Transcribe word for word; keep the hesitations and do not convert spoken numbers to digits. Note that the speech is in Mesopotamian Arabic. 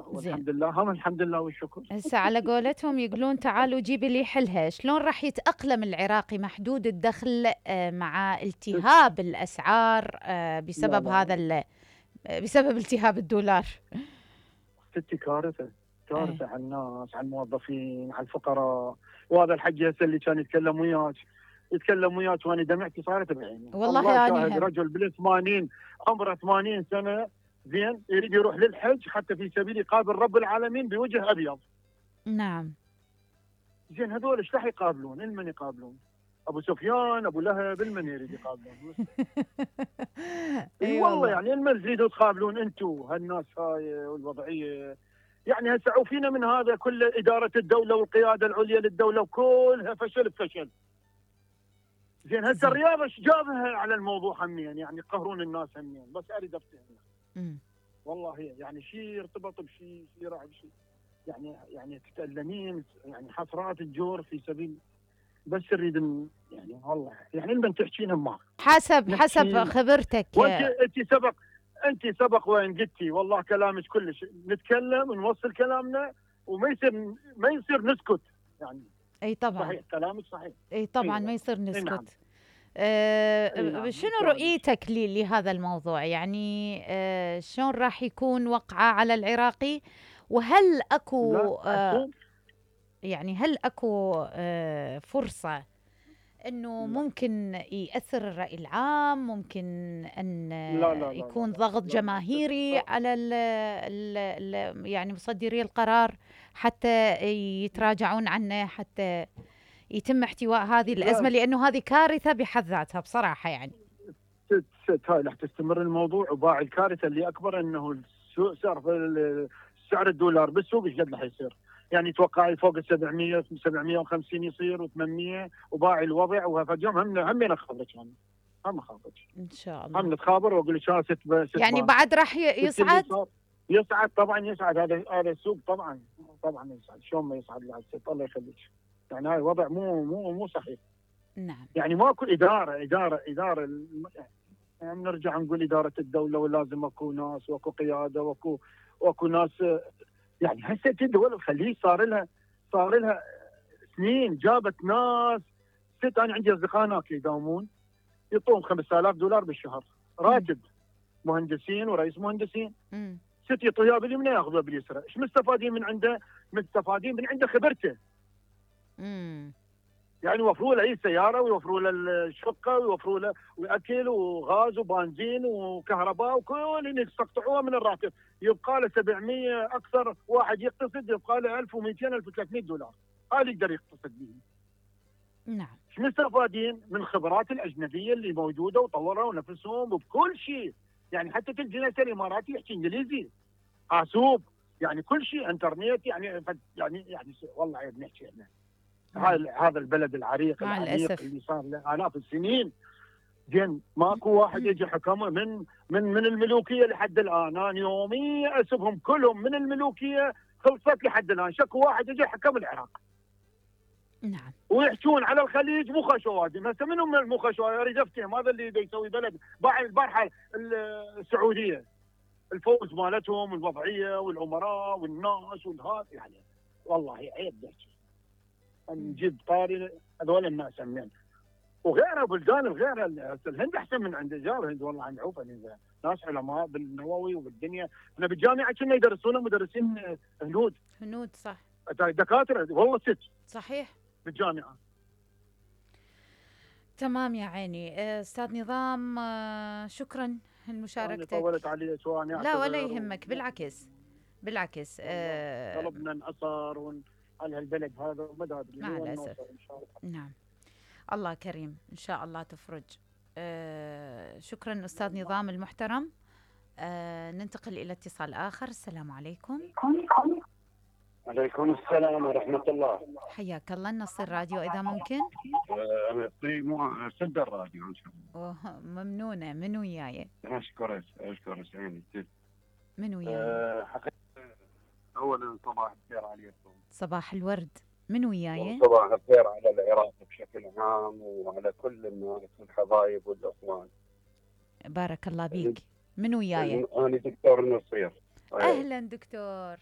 زين. والحمد لله، هم الحمد لله والشكر. هسه على قولتهم يقولون تعالوا جيبي لي حلها، شلون راح يتأقلم العراقي محدود الدخل آه، مع التهاب الأسعار آه، لا بسبب لا هذا ال- آه، بسبب التهاب الدولار؟ ستي كارثه، ايه كارثه على الناس، على الموظفين، على الفقراء. وهذا الحج هسه اللي كان يتكلم وياك يتكلم وياك وانا دمعتي صارت بعيني. الله والله أنا شاهد، هم. رجل بال ثمانين، عمره ثمانين سنه، زين، يريد يروح للحج حتى في سبيل يقابل رب العالمين بوجه ابيض. نعم. زين هذول ايش راح يقابلون؟ المن يقابلون؟ ابو سفيان، ابو لهب، المن يريد يقابلون؟ اي اي والله، والله. يعني المن تريدوا تقابلون انتم هالناس هاي والوضعيه. يعني هسه عوفينا من هذا كل اداره الدوله والقياده العليا للدوله وكلها فشل بفشل. زين هسه زين. الرياضه ايش جابها على الموضوع همين؟ يعني يقهرون الناس همين، بس اريد افتهم. مم. والله هي يعني شيء يرتبط بشيء، شيء راح بشيء. يعني يعني تتألمين، يعني حسرات الجور في سبيل، بس نريد ن- يعني والله يعني لما تحكين معك حسب حسب نحكي. خبرتك. وانت انت سبق انت سبق وين قلتي والله كلامك كلش نتكلم ونوصل كلامنا وما يصير ما يصير نسكت يعني. اي طبعا. صحيح كلامك صحيح. اي طبعا اي ما يصير اي نعم. نسكت. آه، اي نعم شنو كلامك. رؤيتك لي لهذا الموضوع؟ يعني آه، شلون راح يكون وقعه على العراقي؟ وهل لا اكو آه، اشوف. يعني هل اكو آه، فرصة انه لا ممكن يأثر الرأي العام؟ ممكن ان لا آه، لا لا لا يكون لا ضغط لا جماهيري لا. على ال ال ال يعني مصدري القرار حتى يتراجعون عنه، حتى يتم احتواء هذه لا الأزمة؟ لأنه هذه كارثة بحد ذاتها بصراحة يعني. ست ست هاي راح تستمر الموضوع. وباع الكارثه اللي اكبر انه السوق سعر سعر الدولار بالسوق ايش قد راح يصير؟ يعني توقعي فوق ال سبعمية سبعمية وخمسين يصير و800 وباعي الوضع. وهاليوم هم هم نخبرك يعني، هم اخبرك، إن شاء هم الله. نتخابر واقول لك ست ست يعني بان. بعد راح ي- شفت اللي يصعد. صار؟ يصعد طبعا، يصعد. هذا هذا السوق طبعا طبعا يصعد. شلون ما يصعد يا ست؟ الله يخليك. يعني هاي الوضع مو مو مو صحيح. نعم. يعني ماكو اداره اداره اداره يعني نرجع نقول اداره الدوله، ولازم اكو ناس واكو قياده واكو واكو ناس. يعني هسه الدول الخليج صار لها صار لها سنين جابت ناس. ست انا عندي اصدقاء هناك يداومون يعطوهم خمسة آلاف دولار بالشهر راتب، مهندسين ورئيس مهندسين. مم. ست يعطوها باليمنى ياخذوها باليسرى. ايش مستفادين من عنده؟ مستفادين من عنده خبرته. مم. يعني يوفروا له اي سياره، ويوفروا له الشقه، ويوفروا له واكل وغاز وبنزين وكهرباء وكل يقطعوها من الراتب. يبقى له سبعمية، اكثر واحد يقتصد يبقى له ألف ومئتين ألف وثلاثمئة دولار. هذا يقدر يقتصد به. نعم. ايش مستفادين من الخبرات الاجنبيه اللي موجوده وطوروا نفسهم بكل شيء. يعني حتى تلقى ناس الاماراتي يحكي انجليزي حاسوب، يعني كل شيء انترنت. يعني يعني يعني والله عيب نحكي احنا. هذا هذا البلد العريق مع العميق الأسف. اللي صار له آلاف السنين. زين ماكو واحد يجي حكمه من من من الملوكيه لحد الان. انا يوميا اسبهم كلهم من الملوكيه خلصت لحد الان. شكو واحد يجي حكم العراق. نعم. ويحجون على الخليج مو خشوادم. هسه منهم من المو خشوادم؟ اريد افتهم. هذا اللي بيسوي بلد باع البارحه السعوديه، الفوز مالتهم والوضعيه والامراء والناس والهذا. يعني والله عيب نحكي نجيب طاري هذول الناس همين. وغيرها بلدان الغيرها. الهند احسن من عند جار الهند والله. عند عوف ناس علماء بالنووي وبالدنيا. احنا بالجامعه كنا يدرسونا مدرسين هنود هنود صح. دكاتره والله ست صحيح. بالجامعه. تمام يا عيني. آه، أستاذ نظام، آه، شكرا انا لمشاركتك. طولت علي سواء لا ولا اعتذر. يهمك، بالعكس بالعكس. والله آه، قلبنا انعصر ون- على هالبلد هذا وما ادري مع وين الأسف. نوصل ان شاء الله. نعم. الله كريم إن شاء الله تفرج. آه، شكرا أستاذ نظام المحترم. آه، ننتقل إلى اتصال آخر. السلام عليكم. عليكم السلام ورحمة الله. حياك الله. نص الراديو إذا ممكن. أه سد الراديو إن شاء الله. أوه، ممنونة. من وياي؟ أشكرك أشكرك يعني. من وياي؟ أه حقيقة أولا صباح الخير عليكم. صباح الورد. من وياي؟ صباح الخير على العراق بشكل عام وعلى كل الناس والحبايب والأخوان. بارك الله بيك. من وياي؟ أنا دكتور نصير. أهلا دكتور.